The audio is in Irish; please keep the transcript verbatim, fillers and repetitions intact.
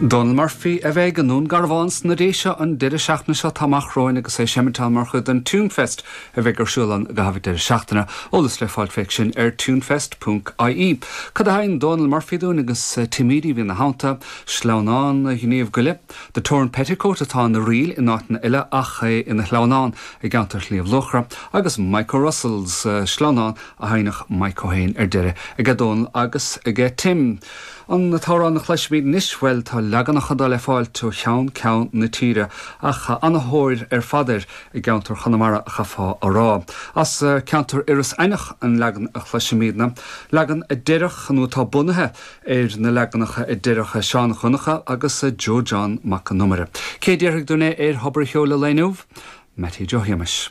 Donal Murphy a bheidh i nDún Garbhán sna Déise an deireadh seachtaine seo amach romhainn agus é ag seinm mar chuid den Tunefest a bheidh ar siúl an gaitheamh deireadh seachtaine. Eolas le fáil faoi sin ar tunefest.ie. Cad a sheinn Donal Murphy dúinn agus Tim Edey ina theannta sleamhnán Ghníomh Goile, The Torn Petticoat atá ina ríl in áiteanna eile ach é ina shleamhnán i gceantar Shliabh Luachra, agus Mike O'Russell's sleamhnán a sheinneadh Mike O'Hain ar deireadh ag Donal agus ag Tim. An t-amhrán a chloisfimid anois bhuel tá leaganacha de le fáil ó cheann ceann na tíre ach an-tóir ar fad air i gceantar Chonamara a chaithfeá a rá. As ceantar Iorras Aithneach an leagan a chloisfimidne, leagan a deireadh nó atá bunaithe ar na leaganacha a deireadh Seán Ó Donnchadha agus Joe John Mac an Iomaire. Cé déarfaidh dúinn é ar Thobar an Cheoil inniu? Mattie Joe Shéamais.